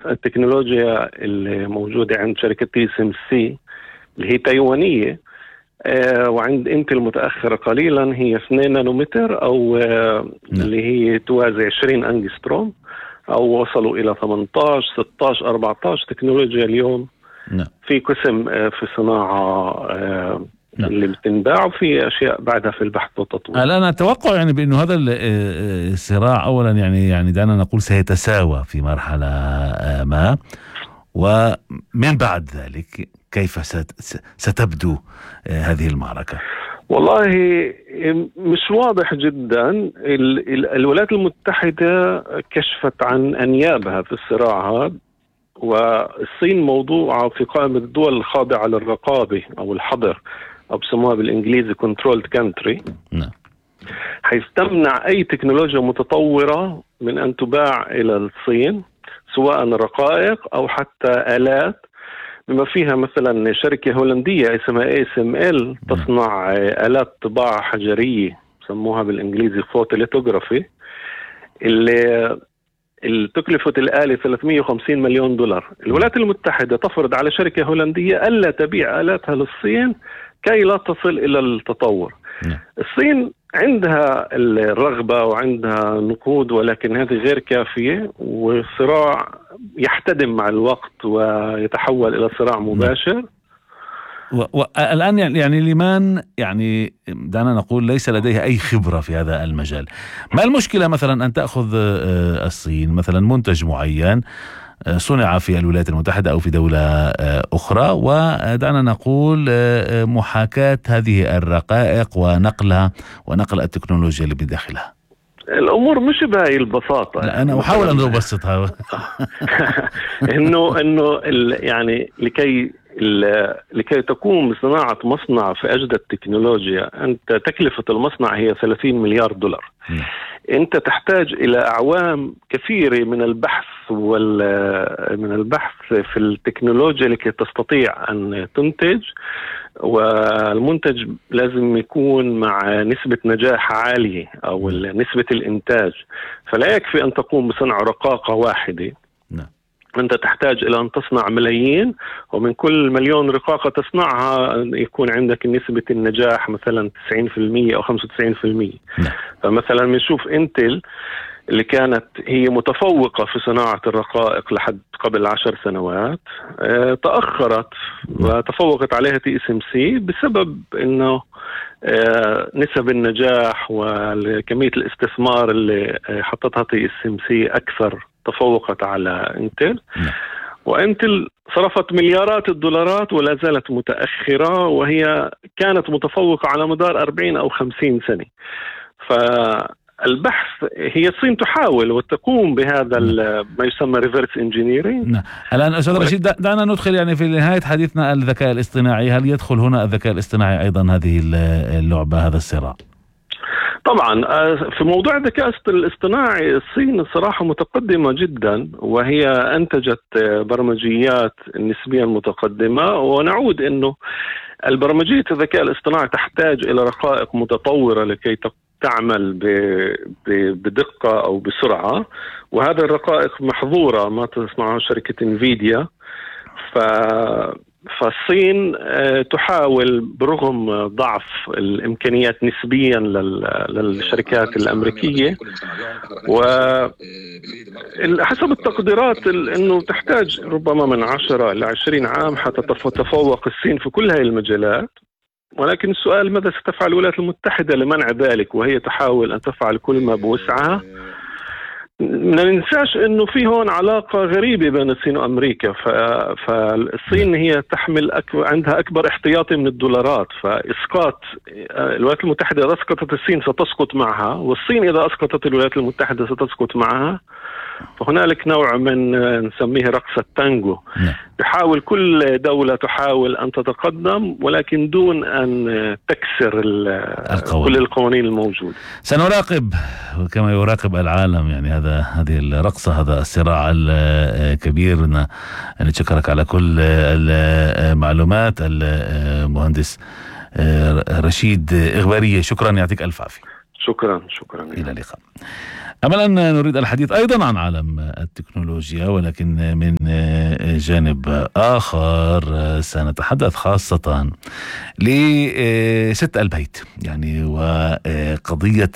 التكنولوجيا اللي موجودة عند شركة TSMC اللي هي تايوانية، وعند انتل متأخرة قليلا، هي 2 نانومتر أو اللي هي توازي 20 أنجستروم، أو وصلوا إلى 18 16 14 تكنولوجيا اليوم. في قسم في صناعة اللي بتنباع، وفي أشياء بعدها في البحث والتطوير. الآن أتوقع يعني بأنه هذا الصراع أولا يعني دعنا نقول سيتساوى في مرحلة ما، ومن بعد ذلك كيف ستبدو هذه المعركة؟ والله مش واضح جدا. الولايات المتحدة كشفت عن أنيابها في الصراع هذا، والصين موضوعة في قائمة الدول الخاضعة للرقابة أو الحظر، أو بسموها بالإنجليزي controlled country، حيث تمنع أي تكنولوجيا متطورة من أن تباع إلى الصين، سواء رقائق أو حتى آلات، بما فيها مثلا شركة هولندية اسمها ASML تصنع آلات طباعة حجرية سموها بالإنجليزي فوتوليتوغرافي، اللي تكلفة الآلة $350 مليون. الولايات المتحدة تفرض على شركة هولندية ألا تبيع آلاتها للصين كي لا تصل إلى التطور. الصين عندها الرغبة وعندها نقود، ولكن هذه غير كافية، والصراع يحتدم مع الوقت ويتحول إلى صراع مباشر. والآن يعني لمن يعني دعنا نقول ليس لديها أي خبرة في هذا المجال، ما المشكلة مثلا أن تأخذ الصين مثلا منتج معين صنع في الولايات المتحدة أو في دولة أخرى، ودعنا نقول محاكاة هذه الرقائق ونقلها ونقل التكنولوجيا اللي بداخلها؟ الأمور مش بهاي البساطة. لا أنا أحاول أن أبسطها. إنه يعني لكي تقوم بصناعة مصنع في أجدد التكنولوجيا، أنت تكلفة المصنع هي $30 مليار. أنت تحتاج إلى أعوام كثيرة من البحث في التكنولوجيا لكي تستطيع أن تنتج، والمنتج لازم يكون مع نسبة نجاح عالية أو نسبة الإنتاج، فلا يكفي أن تقوم بصنع رقاقة واحدة. أنت تحتاج إلى أن تصنع ملايين، ومن كل 1,000,000 رقاقة تصنعها يكون عندك نسبة النجاح مثلا 90% أو 95%. فمثلا بنشوف انتل اللي كانت هي متفوقة في صناعة الرقائق لحد قبل 10 سنوات، تأخرت وتفوقت عليها TSMC بسبب أنه نسب النجاح وكمية الاستثمار اللي حطتها TSMC أكثر، تفوقت على انتل. وانتل صرفت مليارات الدولارات ولا زالت متأخرة، وهي كانت متفوقة على مدار 40 أو 50 سنة. فالبحث هي الصين تحاول وتقوم بهذا ما يسمى reverse engineering. الآن أستاذ رشيد دعنا ندخل يعني في نهاية حديثنا الذكاء الاصطناعي. هل يدخل هنا الذكاء الاصطناعي أيضا هذه اللعبة، هذا الصراع؟ طبعا في موضوع الذكاء الاصطناعي الصين الصراحة متقدمة جدا، وهي أنتجت برمجيات نسبيا متقدمة، ونعود أنه البرمجية الذكاء الاصطناعي تحتاج إلى رقائق متطورة لكي تعمل بدقة أو بسرعة، وهذه الرقائق محظورة ما تصنعها شركة انفيديا. فالصين تحاول برغم ضعف الإمكانيات نسبيا للشركات الأمريكية، وحسب التقديرات أنه تحتاج ربما من 10 إلى 20 عام حتى تتفوق الصين في كل هذه المجالات. ولكن السؤال ماذا ستفعل الولايات المتحدة لمنع ذلك، وهي تحاول أن تفعل كل ما بوسعها. ما ننساش انه في هون علاقة غريبة بين الصين وامريكا. فالصين هي تحمل عندها اكبر احتياطي من الدولارات، فاسقاط الولايات المتحدة اذا اسقطت الصين ستسقط معها، والصين اذا اسقطت الولايات المتحدة ستسقط معها. فهنالك نوع من نسميه رقص التانجو. تحاول كل دولة تحاول أن تتقدم، ولكن دون أن تكسر كل القوانين الموجودة. سنراقب كما يراقب العالم يعني هذه الرقصة، هذا الصراع الكبير. نشكرك على كل المعلومات المهندس رشيد إغبارية. شكرا، يعطيك ألف عافية. شكرا. إلى اللقاء. أما الآن نريد الحديث أيضا عن عالم التكنولوجيا، ولكن من جانب آخر سنتحدث خاصة لست البيت، يعني وقضية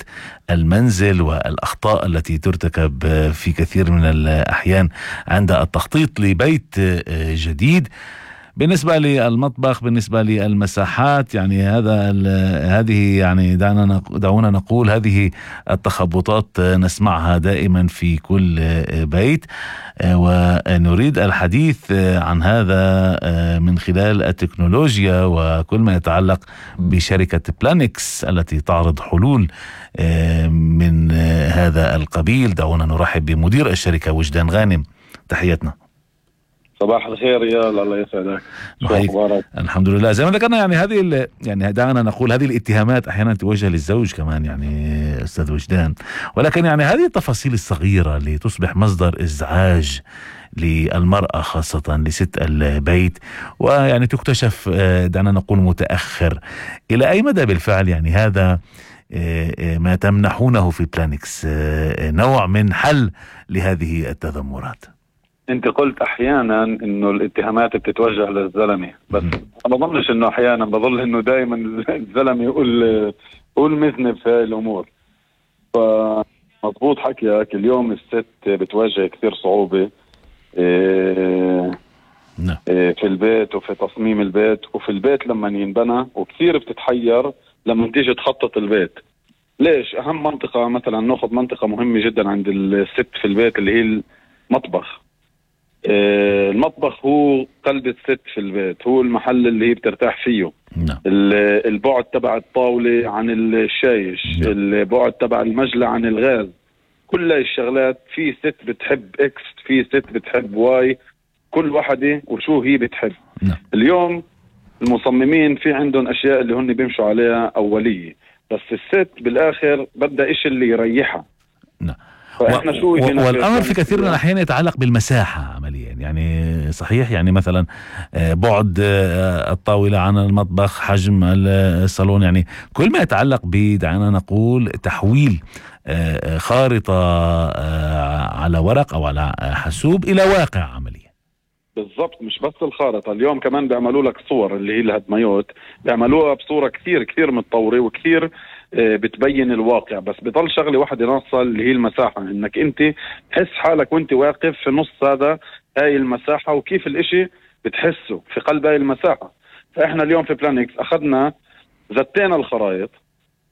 المنزل والأخطاء التي ترتكب في كثير من الأحيان عند التخطيط لبيت جديد، بالنسبة للمطبخ، بالنسبة للمساحات. يعني هذه يعني دعونا نقول هذه التخبطات نسمعها دائما في كل بيت، ونريد الحديث عن هذا من خلال التكنولوجيا وكل ما يتعلق بشركة بلانكس التي تعرض حلول من هذا القبيل. دعونا نرحب بمدير الشركة وجدان غانم، تحياتنا. صباح الخير يا الله يسعدك. شو اخبارك؟ الحمد لله. زي ما ذكرنا يعني يعني دعنا نقول هذه الاتهامات احيانا توجه للزوج كمان، يعني استاذ وجدان، ولكن يعني هذه التفاصيل الصغيرة اللي تصبح مصدر ازعاج للمرأة خاصة لست البيت، ويعني تكتشف دعنا نقول متأخر. الى اي مدى بالفعل يعني هذا ما تمنحونه في بلانكس نوع من حل لهذه التذمرات؟ انت قلت احيانا انه الاتهامات بتتوجه للزلمه، بس انا بظنش انه احيانا، بظل انه دائما الزلمه يقول مذنب في هاي الامور. فمضبوط حكيك، اليوم الست بتواجه كثير صعوبه في البيت وفي تصميم البيت وفي البيت لما ينبنى، وكثير بتتحير لما تيجي تخطط البيت. ليش؟ اهم منطقه مثلا، ناخذ منطقه مهمه جدا عند الست في البيت اللي هي المطبخ. المطبخ هو قلب الست في البيت، هو المحل اللي هي بترتاح فيه. البعد تبع الطاولة عن الشايش، البعد تبع المجلة عن الغاز، كل الشغلات. في ست بتحب اكس، في ست بتحب واي، كل واحدة وشو هي بتحب. اليوم المصممين في عندهم اشياء اللي هن بيمشوا عليها اولية، بس الست بالاخر بدها اشي اللي يريحها. والأمر في كثير من الأحيان يتعلق بالمساحة عمليا، يعني صحيح، يعني مثلا بعد الطاولة عن المطبخ، حجم الصالون، يعني كل ما يتعلق بدعنا نقول تحويل خارطة على ورق أو على حاسوب إلى واقع عملي. بالضبط، مش بس الخارطة، اليوم كمان بيعملوا لك صور اللي هي الهدميات، بيعملوها بصورة كثير متطورة وكثير بتبين الواقع. بس بضل شغلة واحدة ناقصة اللي هي المساحة، انك انت تحس حالك وانت واقف في نص هاي المساحة، وكيف الاشي بتحسه في قلب هاي المساحة. فاحنا اليوم في بلانكس اخذنا زتينا الخرائط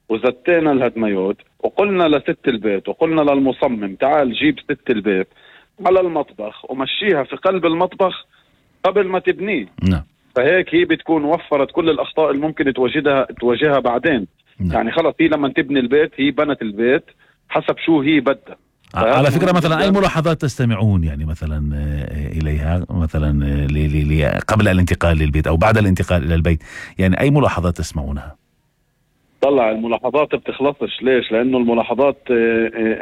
وزتينا الهدميات، وقلنا لست البيت وقلنا للمصمم تعال جيب ست البيت على المطبخ ومشيها في قلب المطبخ قبل ما تبنيه. فهيك هي بتكون وفرت كل الأخطاء اللي ممكن تواجهها بعدين. يعني خلص هي لما تبني البيت هي بنت البيت حسب شو هي بدها. على فكرة مثلا أي ملاحظات تستمعون يعني مثلا إليها مثلا قبل الانتقال للبيت أو بعد الانتقال إلى البيت، يعني أي ملاحظات تسمعونها؟ طلع الملاحظات بتخلصش. ليش؟ لأنه الملاحظات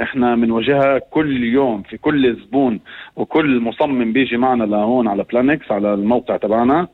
احنا بنواجهها كل يوم في كل زبون، وكل مصمم بيجي معنا لهون على بلانكس على الموقع تبعنا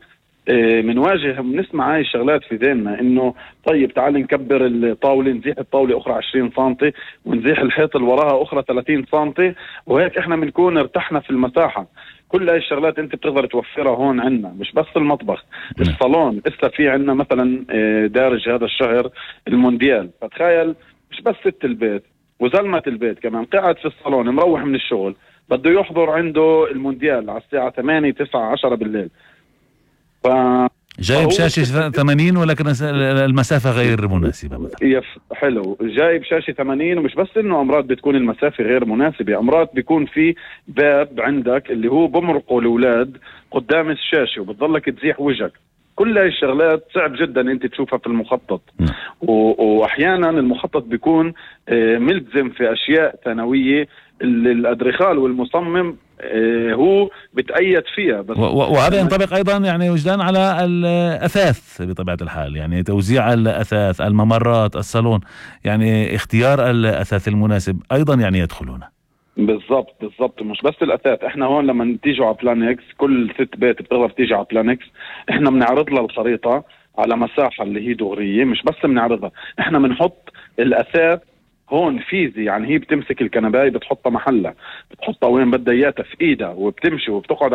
بنواجه بنسمع هاي الشغلات في ذهننا، انه طيب تعال نكبر الطاولة، نزيح الطاولة اخرى 20 سنتي ونزيح الحيط اللي وراها اخرى 30 سنتي، وهيك احنا بنكون ارتحنا في المساحة. كل هاي الشغلات انت بتقدر توفرها هون عنا، مش بس المطبخ، الصالون. لسه في عنا مثلا دارج هذا الشهر المونديال، فتخيل مش بس ست البيت وزلمة البيت كمان قاعد في الصالون مروح من الشغل بده يحضر عنده المونديال على الساعة 8 9 10 بالليل، جايب شاشة 80 ولكن المسافة غير مناسبة مثلا. حلو، جايب شاشة 80، ومش بس انه امراض بتكون المسافة غير مناسبة، امراض بيكون في باب عندك اللي هو بمرقوا الاولاد قدام الشاشة وبتضلك تزيح وجهك. كل هاي الشغلات صعب جدا انت تشوفها في المخطط، واحيانا المخطط بيكون ملزم في اشياء ثانوية الادرخال والمصمم هو بتأيد فيها. بس وهذا ينطبق ايضا يعني وجدان على الاثاث بطبيعة الحال، يعني توزيع الاثاث، الممرات، الصالون، يعني اختيار الاثاث المناسب ايضا يعني يدخلون. بالضبط مش بس الاثاث. احنا هون لما تيجوا على بلانكس كل ست بيت بتقدر تيجي على بلانكس، احنا بنعرض لها الخريطة على مساحة اللي هي دغرية، مش بس بنعرضها، احنا بنحط الاثاث هون فيزي، يعني هي بتمسك الكنباية بتحطها محلها، بتحطها وين بدها اياها في ايدها، وبتمشي وبتقعد